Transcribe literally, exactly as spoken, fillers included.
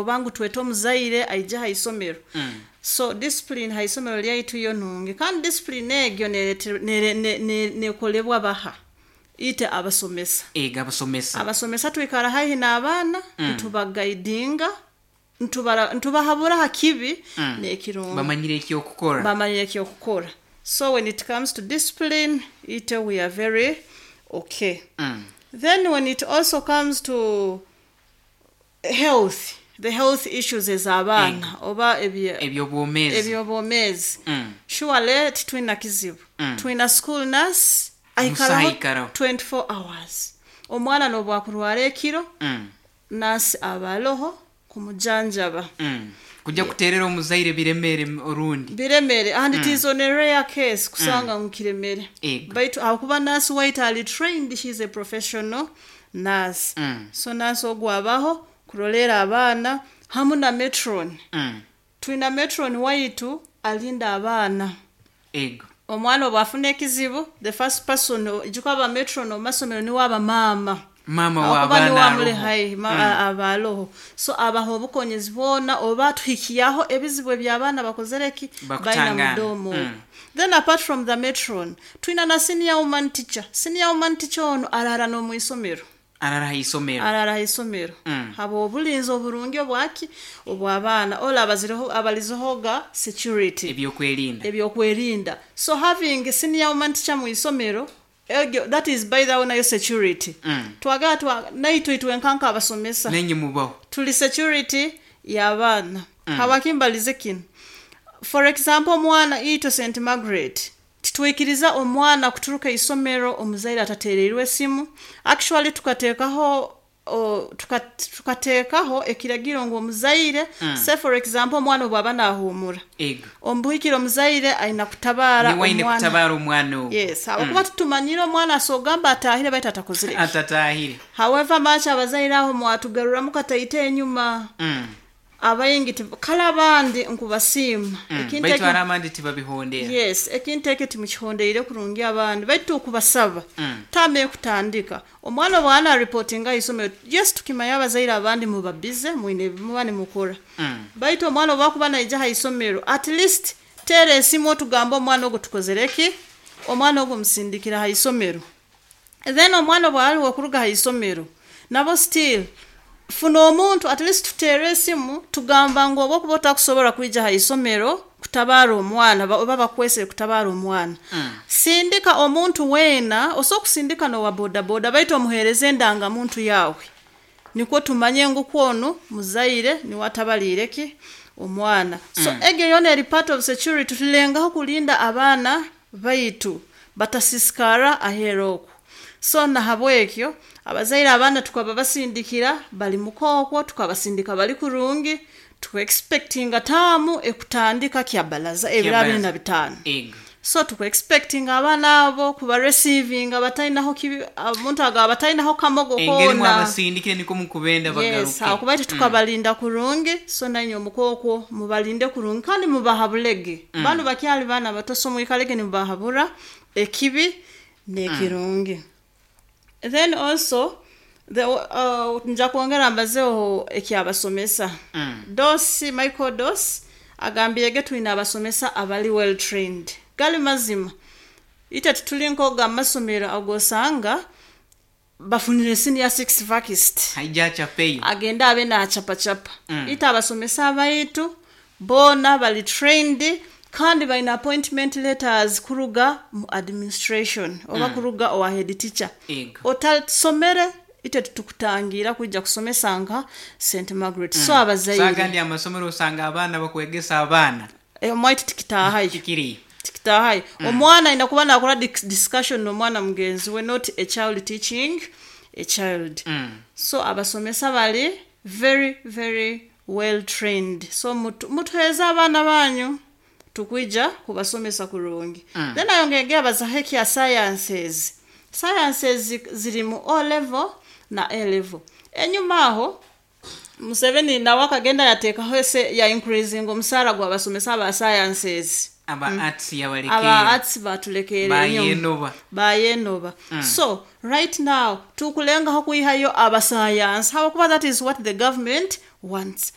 Oba ngu twete omuzaire aije ha isomero. So discipline ha isomero lyaitu yo nungi, kandi discipline egyo nerete- nere- ne- ne- nekolebwa baha? Ite abasomesa. Ega, abasomesa. Abasomesa twikara haihi n'abaana, ntubaguidinga, ntubara- ntubahabura ha kibi Mm. n'ekirungi. Bamanyire ekyokukora. Bamanyire ekyokukora. So when it comes to discipline, ite we are very okay. Mm. Then when it also comes to health, the health issues ez'abaana oba ebye- Ebyobwomeezi. Ebyobwomeezi, Mm. surely titwina kizibu. Mm. Twina school nurse Omusaha aikaraho aikaraho. twenty-four hours. Omwana nobwakurwara ekiro, Mm. nurse aba aloho kumujanjaba. Mm. kujja kuterera omuzaire biremere orundi. Biremere, and it is on a rare case kusanga ngu kiremere. Ego. Baitu akuba nurse waitu ali trained, she is a professional nurse. Mm. So nurse ogwo abaho kurolera abaana hamu na matron. Mm. Twina matron waitu alinda abaana. Ego. Omwana obwafuna ekizibu, the first person ijuka aba matron omu masomero niwe aba maama. Maama Ahakuba niwe w'abaana amuli aroho. haihi, ma- aba aloho, so abaha obukonyezi bwona oba tuhikyaho ebizibu eby'abaana bakozere ki baina Bakutangana. mudomo. Mm. Then apart from the matron, twina na senior woman teacher. Senior woman teacher ono arara n'omwisomero. Arara ha isomero. Arara ha isomero. Mm. Haba obulinzi oburungi obwaki obw'abaana ola abazireho abalizehoga security. Ebyokwerinda. Ebyokwerinda. So having senior woman teacher mu isomero egyo, that is, by the way, nayo security. Mm. Twagala twa naitwe itwenkanka abasomesa Nenye mubaho. Tuli security y'abaana. mm. Hawakimbalize kino, for example, omwana itwe Saint Margaret titwikiriza omwana kuturuka isomero omuzaire atatereirwe esimu. Actually tukateekaho o, tuka- tukateekaho ekiragiro ngu omuzaire, mm. say for example, omwana obwaba naahumura, ego omubuhikire omuzaire aina kutabaara Niwe aine omwana. Kutabaara omwana ogwo. Yes, habwokuba tutumanyire omwana asogamba atahire baitu atakozire ki. Atatahire. However much abazaire aho mwatugaruramu kataite enyuma, Mm. abaingi ti- kale abandi nkubasiima. Mm. Ekintu Baitu ekyo- hari abandi tibabihondera. Yes, ekintu ekyo timukihondeire kurungi abandi, baitu tukubasaba, Mm. tame ekutandika omwana bwana aripotinga isomero, yes, tukimanya abazaire abandi muba busy, mwine muba nimukora, Mm. baitu omwana oba naija ha isomero, at least teera esimu otugamba omwana ogwo tukozere ki, omwana ogwo musindikira ha isomero. Then omwana bwaliwo okuruga ha isomero, nabo still funa omuntu, at least tuteere esimu tugamba ngu oba okuba otakusobola kwija ha isomero kutabaara omwana, ba- oba bakwesere kutabaara omwana, Mm. sindika omuntu weena osobola okusindika nowa bodaboda, baitu omuheereze endangamuntu yawe nikwo tumanye ngu kwonu muzaire niwe atabaliire ki omwana. So mm. egyo yona eri part of security. Tulengaho kulinda abaana baitu batasisikara aheera okwo. So nahabwekyo abazaire abaana tukaba basindikira bali mukookwo, tukabasindika bali kurungi. Tuexpectinga taamu ekutandika kyabalaza ebiro abiri na bitaano. Ego. So tukuexpectinga abaana abo kuba receivinga batalinaho kibi, omuntu agaba batalinaho kamogo Engeri koona. Mwabasindikire niko mukubenda Yes. bagaruke. Hakuba iti tukabalinda kurungi, so nanywe omukookwo mubalinde kurungi kandi mubahabulege. mm. Banu bakyali baana bato, so mwikalege nimubahabura ekibi n'ekirungi. Then also the, uh, nja kwongera mbazeho ekyabasomesa. Mm. Dos Michael Dos agambirege twina abasomesa abali well trained. Gali mazima, ite tituli nkoga amasomero agosanga bafunire senior six vacuist haija acapeyo. Agenda abe nachapachapa. Mm. Ite abasomesa abaitu boona bali trained kandi balina appointment letters kuruga mu administration oba kuruga owa head teacher. Ego. Otasomere, ite tutukutangira kwijja kusomesa nka Saint Margaret. So abazaire Sagandi amasomero osanga abaana bakwegesa abaana. Eh, omwaitu tikitaahayo. Kikiri. Tikitaahayo. Omwana ayina kuba nakora dis- discussion n'omwana mugenzi we, not a child teaching a child. Mm. So abasomesa bali very very well trained, so mutu- mutuheeze abaana banyu, tukwija kubasomesa kurungi. mm. Then ayongege abazaho ekya sciences. Sciences ziri mu O level na A level. Enyuma aho Museveni nawe akagenda yateekaho ese ya increasing omusaara gw'abasomesa aba sciences. Aba arts Aba yabalekere. Arts batulekere enyuma. Bayenoba. Bayenoba. So right now tukulengaho kwihayo abasayansi habwokuba that is what the government wants.